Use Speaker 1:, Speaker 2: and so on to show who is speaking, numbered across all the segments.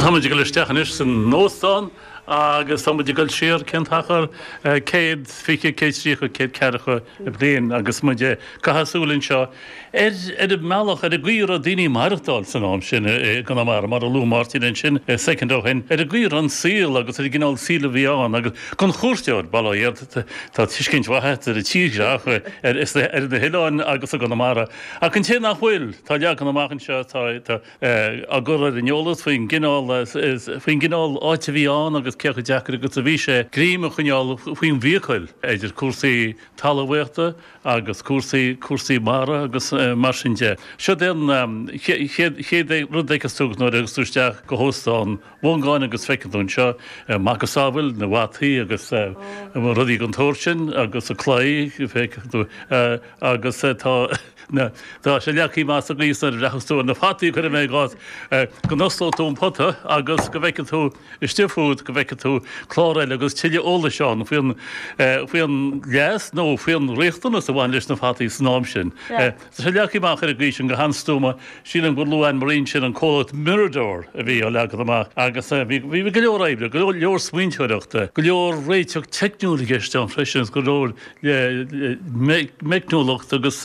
Speaker 1: Táimid ag dul isteach anois san óstán agus táimid ag dul siar cén t-achar, 120, 130, 140 bliain agus muid ag caitheamh súil anseo ar ar an mbealach, ar an gcaoi a raibh daoine ag maireachtáil san am sin i gConamara, mar a luaigh Máirtín ansin soicind ó shin, ar an gcaoi a raibh an saol agus ar an gcineál saoil a bhí ann agus don chuairteoir, bail ó Dhia ort, tá tuiscint mhaith agat ar an tírdhreach ar na hoileáin agus i gConamara ach an té nach bhfuil, tá leagan amach anseo, tá. á gcur ar an eolas faoin gcineál faoin gcineál áit a bhí ann agus cé chomh deacair agus a bhí sé greim a choinneáil faoin bhfiacail idir cúrsaí talmhaíochta agus cúrsaí cúrsaí mara agus mar sin de. Siod é an chéad chéad rud a fheiceas tú nuair a thiocfas tú isteach go hÓstán Mhongáin agus feiceann tú anseo macasamhail na bhfataí agus rudaí den tsórt sin agus an claí feiceann tú agus tá na, tá sé leagtha amach sa gcaoi is nuair a bhreathnas tú ar na fataí, cuirfidh mé i gcás, go n-osclóidh tú an pota agus go bhfeicfidh tú istigh fút, go bhfeicfidh tú clár eile agus tuilleadh eolais ann faoin, faoin leas nó faoin riachtanas a bhain leis na fataí san am sin. Tá sé leagtha amach ar an gcaoi sin go han-stuama. Sílim gur luaigh Anne Marie ansin an comhlacht Mirador a bhí á leagan amach agus bhí, bhí go leor oibre, go leor smaointeoireachta, go leor réiteach teicniúil i gceist ann freisin agus go leor le meicniúlacht agus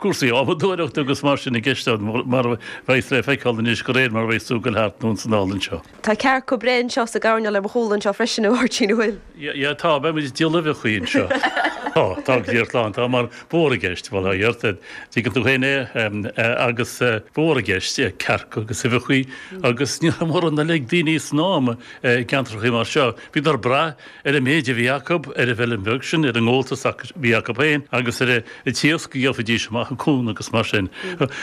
Speaker 1: cúrsaí adhmadóireachta agus mar sin i gceist ann, mar a bheas le feiceáil anois de réir mar a bheas tú ag dul thart anonn is anall anseo.
Speaker 2: Tá cearca breá anseo sa gcoirnéal ar mo chúl anseo freisin, a Mháirtín, an bhfuil?
Speaker 1: Yeah, tá, beidh muid ag díol uibheachaí anseo. Tá, tá go díreach lán, tá mar ba mhór i gceist, bhuel, a dheartháir, tuigeann tú féin é, agus ba mhór i gceist cearca agus uibheachaí agus ní raibh mórán eile ag daoine san am i gceantrachaí mar seo. Bhíodar ag brath ar an méid a bhí acu ar an bhfeilm bheag sin, ar an ngabháltas a bhí acu féin agus ar an t-iasc a gheofaidís amach an cuan agus mar sin.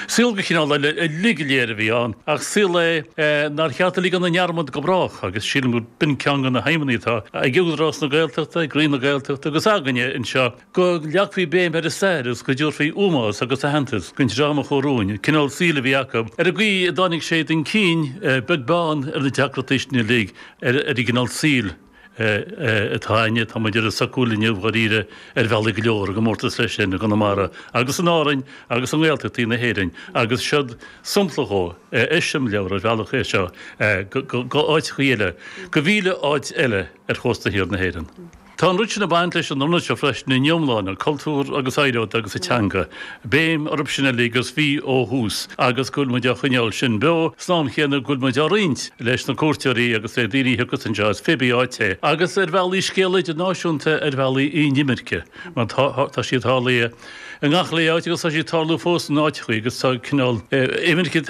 Speaker 1: Saol de chineál eile uilig go léir a bhí ann, ach saol é nár cheart a ligean i ndearmad go brách agus sílim gur b'in ceann de na haidhmeanna atá ag Údarás na Gaeltachta, ag Roinn na Gaeltachta agus againne anseo, go leagfaí béim ar an stair agus go dtabharfaí ómós agus aitheantas don dream a chuaigh romhainn, an cineál saoil a bhí acu, ar an gcaoi a dtáinig sé chun cinn, beag beann ar na deacrachtaí sin uilig, ar an gcineál saoil atá againne. Tá muid ar an socúil inniu, dháiríre, ar bhealaí go leor, i gcomórtas leis sin i gConamara agus in Árainn agus i nGaeltachtaí na hÉireann agus siod sampla dhó, eiseamláir ar bhealach é seo go áiteachaí eile, go mhíle áit eile ar chósta thiar na hÉireann. Tá an rud sin ag baint leis an ionad seo freisin ina iomláine, cultúr agus oidhreacht agus an teanga, béim orthu sin uilig agus bhí ó thús agus go bhfuil muid á choinneáil sin beo san am chéanna go bhfuil muid á roinnt leis na cuairteoirí agus le daoine a thiocfas anseo as pé bí áit é agus ar bhealaí scéal idirnáisiúnta ar bhealaí an imirce mar tá sí tarlaithe i ngach uile áit agus tá sí ag tarlú fós in áiteachaí agus tá cineál imirce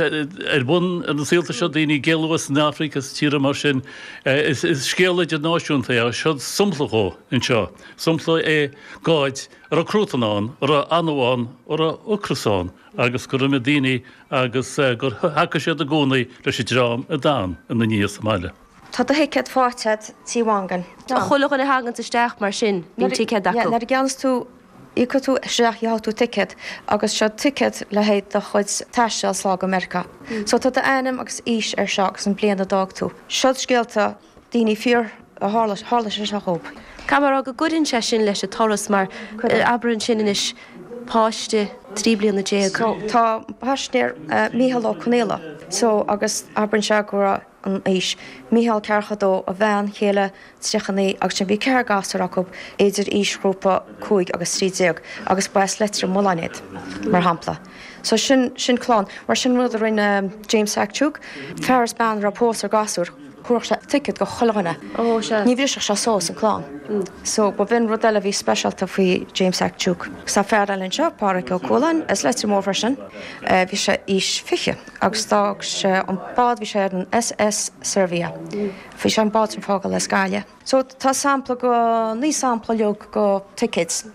Speaker 1: ar bun ar na saolta seo, daoine ag éalú as an Afraic as tíortha mar sin. Is scéal idirnáisiúnta é agus siod sampla dhó anseo. Sampla é d'áit a raibh cruatan ann, a raibh anó ann, a raibh ocras ann agus gur imigh daoine agus gur thacaigh siad i gcónaí leis an dream a d'fhan ina ndiaidh sa mbaile.
Speaker 3: Tá do thicéad faighte agat Tí Mhongáin.
Speaker 2: Chuile dhuine a thaganns isteach mar sin, bíonn ticéad acu.
Speaker 3: Nuair a gceannas tú Íocfaidh tú isteach, gheobhaidh tú ticéad agus seo ticéad le haghaidh do chuid taistil sall go Meiriceá. So tá d'ainm agus aois ar seo agus an bliain a d'fhág tú. Seo scéalta daoine fíor a tharla, tharla sé seo dhób.
Speaker 2: Caithfidh mé a rá go gcuireann sé sin leis an turas mar abair ansin anois páiste 13 bliana.
Speaker 3: So tá paisinéir Mícheál Ó Conaola so agus abraíonn sé go raibh an aois. Mícheál 42, a bhean chéile 39 agus sin bhí ceathrar gasúr acu idir aoisghrúpa 5 agus 13 agus ba as Leitir Mealláin iad, mar shampla. So sin, sin clann. Mar sin rud a rinne James Phac Duke, fear is bean a raibh pósadh ar gasúr, thabharfadh sé ticéad go chuile dhuine.
Speaker 2: Ó, sea.
Speaker 3: Ní bhrisfeadh sé suas an clann. So ba bh'in rud eile a bhí speisialta faoi James Phac Duke. Agus tá fear eile anseo, Pádraic Ó Cualáin, as Leitir Móir freisin, bhí sé aois 20 agus d'fhág sé an bád, bhí sé ar an SS Servia. Bhí sé an bád sin fágáil as Gaillimh. So tá sampla go, naoi sampla uilig go tickets.